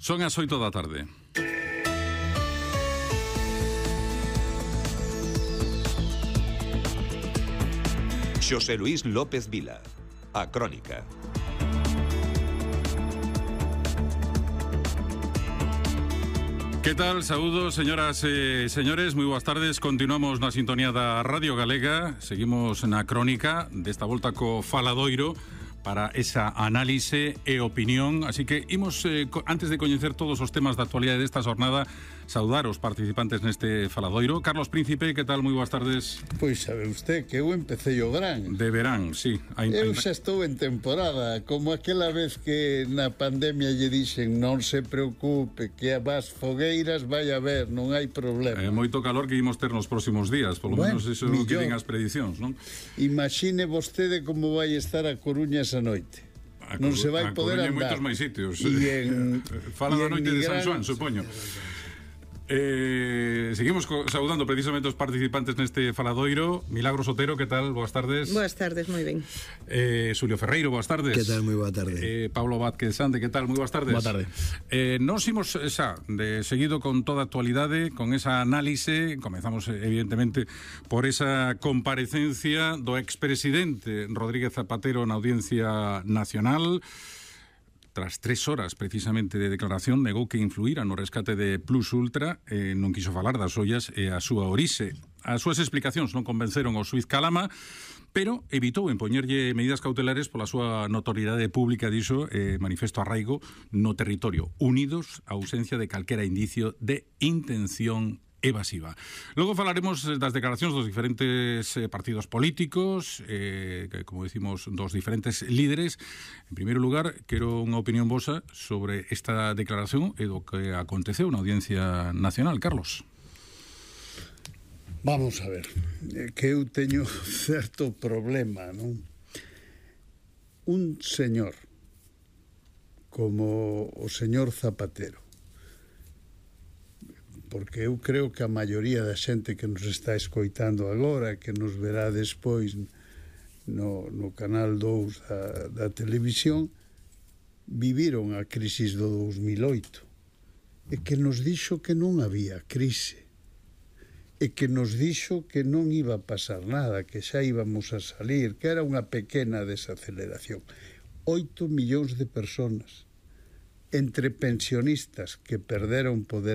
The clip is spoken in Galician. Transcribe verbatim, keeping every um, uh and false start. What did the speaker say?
Son as oito da tarde. Xosé Luís López Vila, A Crónica. Que tal? Saúdos, señoras e señores, moi boas tardes. Continuamos na sintonía da Radio Galega. Seguimos na Crónica, desta volta co Faladoiro, para esa análise e opinión. Así que imos, eh, antes de coñecer todos os temas da actualidade desta jornada, saudar os participantes neste Faladoiro. Carlos Príncipe, que tal? Moi boas tardes. Pois sabe usted que eu empecé o verán. De verán, sí. Hay, eu hay... xa estou en temporada, como aquela vez que na pandemia lle dixen non se preocupe, que a vas fogueiras vai a ver, non hai problema. É moito calor que imos ter nos próximos días, polo bueno, menos iso é o que din as predicións, non? Imagine vostede como vai estar a Coruña esa noite. A non se vai a poder andar. andar. Moitos máis sitios. E en, Fala e da noite de San Xoán, Gran... supoño. Eh, seguimos co, saudando precisamente os participantes neste Faladoiro. Milagros Otero, que tal? Boas tardes. Boas tardes, moi ben. eh, Xulio Ferreiro, boas tardes. Que tal? Moi boa tarde. eh, Pablo Vázquez Sande, que tal? Moi boas tardes. Boa tarde. eh, Nos imos xa de seguido con toda a actualidade, con esa análise. Comezamos evidentemente por esa comparecencia do expresidente Rodríguez Zapatero na Audiencia Nacional. Tras tres horas, precisamente, de declaración, negou que influíra no rescate de Plus Ultra, eh, non quiso falar das ollas e a súa orixe. As súas explicacións non convenceron o xuíz Calama, pero evitou impoñerlle medidas cautelares pola súa notoriedade pública, dixo, eh, manifesto arraigo no territorio, unidos á ausencia de calquera indicio de intención evasiva. Logo falaremos das declaracións dos diferentes eh, partidos políticos, eh, que, como decimos, dos diferentes líderes. En primeiro lugar, quero unha opinión vosa sobre esta declaración e do que aconteceu na Audiencia Nacional. Carlos. Vamos a ver, que eu teño certo problema, non? Un señor como o señor Zapatero, porque eu creo que a maioría da xente que nos está escoitando agora, que nos verá despois no, no canal dous da, da televisión, viviron a crisis do dos mil oito e que nos dixo que non había crise e que nos dixo que non iba a pasar nada, que xa íbamos a salir, que era unha pequena desaceleración. Oito millóns de personas, entre pensionistas que perderon poder